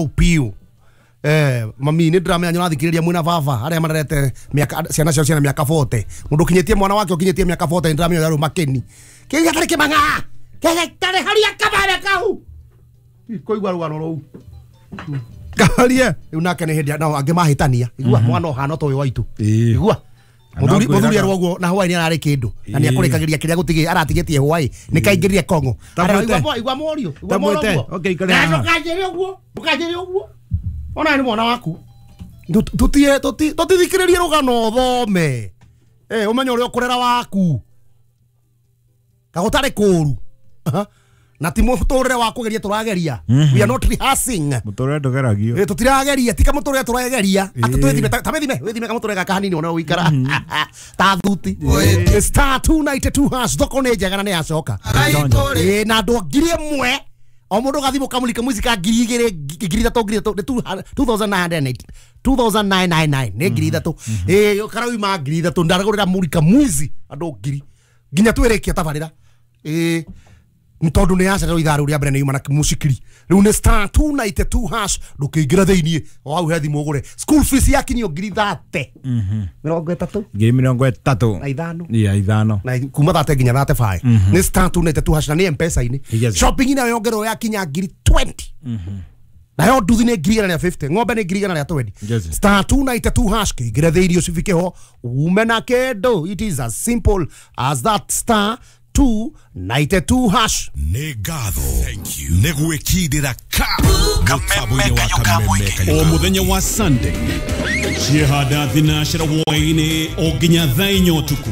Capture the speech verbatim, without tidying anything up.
Piu eh mami nä ndäramenya nä rathikĩrĩria mwĩna baba arĩa marerete mĩaka ciana ciao ciana mĩaka forty mũndũ ũkinyĩtie mwana wake ũkinyĩtie mĩaka forty nĩ ndĩramenya ũrĩa makeni kĩu gatarĩ kĩmang'a gatarĩ haria kabare kau kũigua rũgano rũu kaharie rĩu nake nĩ hĩndĩ nao angĩ mahĩtania igua mwana ũhana ta ũyũ waitũ igua muthuri muthuri arwo guo na hwaini ararĩ kĩndũ na nĩ akũrĩkagĩria kĩrĩa gũtigĩ aratigĩtie hwaĩ nĩ kaingĩrire kongo igua igua mũriũ igua mũriũ okay ikare haha ndũkanjĩre ũguo ndũkanjĩre ũguo ona nĩ mwana waku tutie tutithikĩrĩrie rũgano ũthome eh ũmenye ũrĩa ũkũrera waku kagũtarĩ kũru na ti mũtũrĩre wa kũgeria tũrageria we are not rehearsing mũtũrĩre ndũgeragio eh tutirageria tika mũtũrĩre tũrageria atĩ twĩthime ta wĩthime wĩthime kamũtũrĩre gaka hanini ona ũikara ta thuti star two ninety-two hash thoko nĩ njega na nĩ yacoka eh na andũ ngiri ĩmwe o mũndũ gathimũ kamũrika mũici ka ngiri igĩrĩ ngiri ithatũ ngiri ithatũ two thousand nine hundred eighty two thousand nine hundred ninety-nine nĩ ngiri ithatũ eh karauma ngiri ithatũ ndaragũrĩra mũrika mwizi andũ ngiri nginya twĩrĩkia tabarĩra eh tondu nä yacererwo ithaa rä u rä a mbere nä yuma na mucikiri rä u nä star two ninety-two hash ndå thä o hau he thimå å gå re school fees yakinyio ngiri thate mä rongo ä ngiri mä rongo ä na ithano ya ithano na kuma thate nginya thate five nä star two ninety-two hash na nä M-Pesa-inä shopping nayo yongererwo yakinya ngiri twenty nayo nduthi nä ngiri igana rĩa fifty ng'ombe nä ngiri igana rĩa twenty star two ninety-two hash kĩingĩre thĩinĩ ũcibike ho ume na kĩndũ it is as simple as that star two ninety-two hash nĩ ngatho nĩ gwĩkindĩra ka mũtambo-inĩ wa Kameme o mũthenya wa Sunday ciehanda thinacera hwaĩ-inĩ o nginya thaa inya ũtukũ